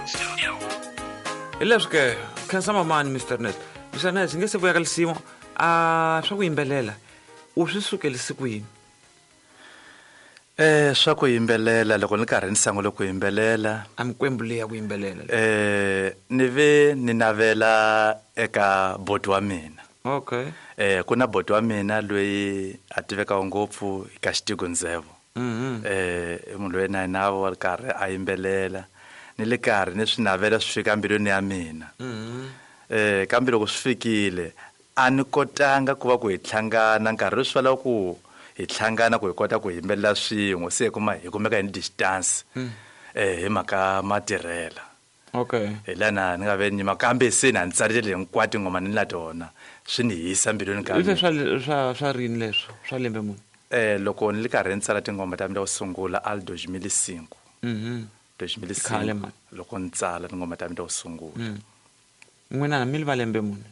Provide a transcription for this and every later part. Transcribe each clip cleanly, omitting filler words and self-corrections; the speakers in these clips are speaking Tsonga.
Hi leswi ke khensa mamani Mr Ness. Mr Ness nge se vuya ka lisimu a swa ku yimbelela u swi sukelise ku yini? Swa ku yimbelela loko ni karhi ni sungule ku yimbelela a mikwembu leyi ya ku yimbelela ni ve ni navela eka boti wa mina. Okay. Ku na boti wa mina loyi a tivekaka ngopfu ka Xitigo Ndzhevo. I munhu loyi na yena wa ri karhi a yimbelela ni le karhi ni swi navela swi fika mbilwini ya mina. Kambe loko swi fikile a ni kotanga ku va ku hi hlangana nkarhi swi lava ku hi hlangana ku hi kota ku yimbelela swin'we se hi kuma hi kumeka hi ni distance hi mhaka matirhela. Okay. Hi lana ni nga ve nyima kambe se na ni tsarile hinkwato tinghoma ni na tona swi ni hisa mbilwini ka mina. Swa rini leswo swa lembe muni? Loko ni li karhi ni tsala tinghoma ta mina to sungula al 2005. 2005 loko ni tsala tinghoma ta mina to sungula. N'wina mi li va lembe muni?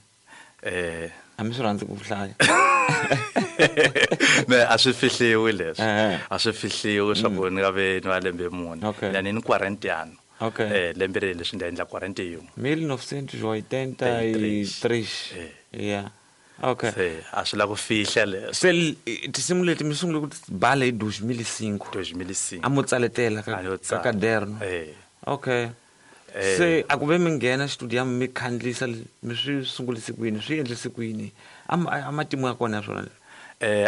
A mi swi rhandzi ku hlaya. Me a swi fihliwi leswi. A swi fihliwi swa ku ni nga ve ni va lembe muni. Na ni ni 40. Okay. Lembe leri leswi ni endla 41. 1983. Yeah. Okay. Se a swi la ku fihla leswi. Se tinsimu leti mi sungule ku bala hi 2005. 2005. A mo tsaletela ka kaderno. Okay. Se a ku ve mi nghena studio mi khandlisa mi swi sungulise ku yini swi endlise ku yini a matimu ya kona ya swona leswi?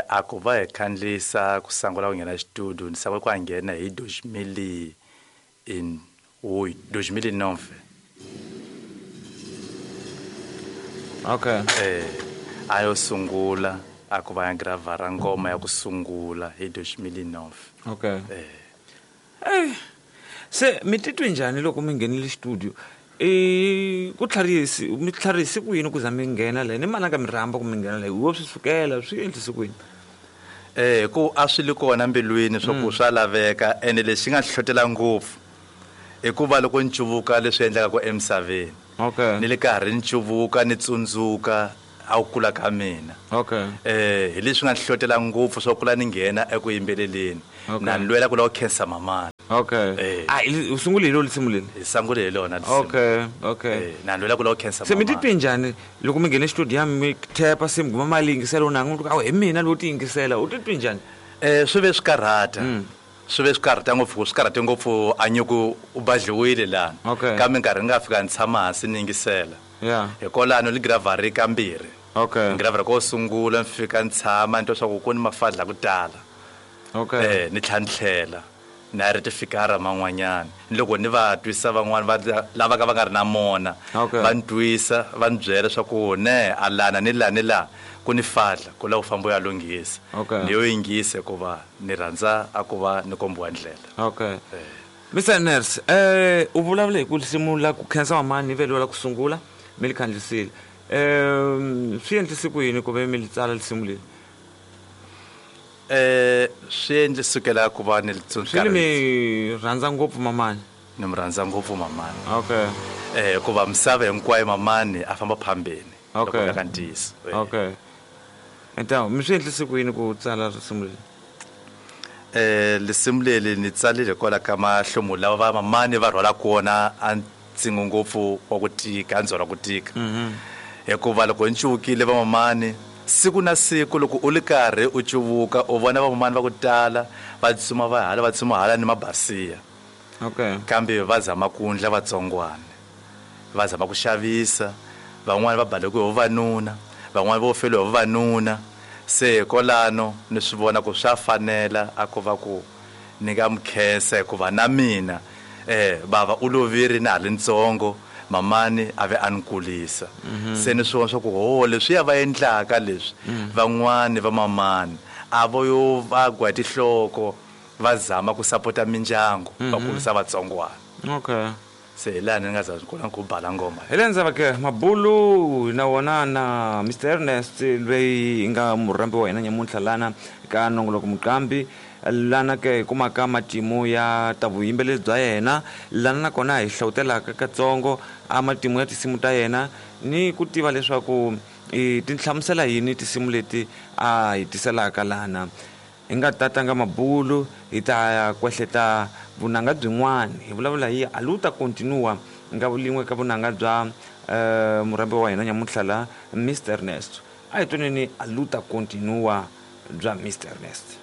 A ku va hi khandlisa ku sungula ku nghena studio ni sungula ku nghena hi 2009. Okay. A yo sungula a ku va ya gravara ngoma ya ku sungula hi 2009. Okay. Se mi titwe njhani loko mi nghenile studio? Ku tlharisi mi tlharisi ku yini ku za mi nghena la ni mani nga mi rhamba ku mi nghena la wo swi sukela swi endlise ku yini? Ku a swi li kona mbilwini swa ku swa laveka ene lexi nga hlohlotela ngopfu i ku va loko ni cuvuka leswi endlekaka ku emisaveni. Okay. Ni le karhi ni cuvuka ni tsundzuka a ku kula ka mina. Okay. Hi leswi nga hlohlotela ngopfu swa kula ni nghena eku yimbeleleni. Okay. Na ni lwela ku lava ku khensa mamani. Okay. U sungule hi lona lisimu leri? Hi sungule hi lona lisimu. Okay, okay. Na ni lwela ku lava ku khensa Se mi mamani. titwe njhani loko mi nghene studio mi thepa se mi guma mali yingisela u nanga u hi mina lowo ti yingisela u titwe njhani? Swi ve swi karhata. Swi ve swi karhata ngopfu, swi karhate ngopfu a nyuku u badliwile lana. Okay. Kambe nkarhi ni nga fika ni tshama hansi ni yingisela. Yeah. Hikwalano ni gravhari kambirhi. Okay. Ni gravhari ko sungula ni fika ni tshama ni twa swa ku ku ni mafadla ku tala. Okay. Ni tlhela ni tlhela na ri tifikara man'wanyana. Ni loko ni va twisa van'wana va lava ka va nga ri na mona. Okay. Va ni twisa va ni byela swa ku ne a lana ni la ni la ku ni fadla ku lava ku famba u ya lunghisa. Okay. Ni yo yingisa hikuva ni rhandza a ku va ni kombiwa ndlela. Okay. Mr Nurse, u vulavula hi ku risimu la ku khensa mamani ni veliwa la ku sungula mi li khandlisile. Swi endlise ku yini ku ve mi li tsala risimu leri? Swi endle sukela ku va ni li Swi ni mi rhandza ngopfu mamani? Ni mi rhandza ngopfu mamani. Okay. Hikuva misava hinkwayo mamani a famba phambeni. Okay. Loko ka ntiyiso. Okay. Então, mi swi endlise ku yini ku tsala risimu leri? Risimu leri ni tsalile hikwalaho ka mahlomulo lawa va mamani va rhwalaka wona a ntsingo ngopfu wa ku tika, a ndzhwalo wa ku tika. Hikuva loko ni cuvukile va mamani siku na siku loko u li karhi u cuvuka u vona va mamani va ku tala va tsutsuma va hala va tsutsuma hala ni mabasiya. Okay. Kambe va zama ku endla vatsongwana. Va zama ku xavisa, van'wani va baleke hi vavanuna, van'wani vo feriwa hi vavanuna. Se hikwalano ni swi vona ku swa fanela a ku va ku ni nga mi khensa hikuva na mina bava u lovile na ha ri ntsongo, mamani a ve a ni kulisa. Se ni swi vona swa ku ho leswiya va endlaka leswi van'wani va mamani a vo yo va gwa tinhloko va zama ku sapota mindyangu va kulisa vatsongwana. Okay. Se hi laha ni nga za kona ku bala ngoma. Hi le ndzhaku ke mabulu na wona na Mr Ernest loyi nga murhambi wa hina nyamuntlha lana ka nongoloko muqambi lana ke hi kumaka matimu ya ta vuyimbeleri bya yena lana nakona hi hlawutelaka katsongo a matimu ya tinsimu ta yena ni ku tiva leswaku ti hlamusela yini tinsimu leti a hi tiselaka lana. Hi nga ta tlanga mabulu, hi ta ya kwehleta vunanga byin'wana. Hi vulavula hi Aluta Continua, nga lin'we ka vunanga bya murhambi wa hina nyamuntlha la, Mister Ernest. A hi twaneni Aluta Continua bya Mister Ernest.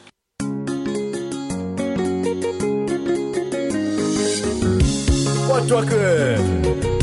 Wa twa ke?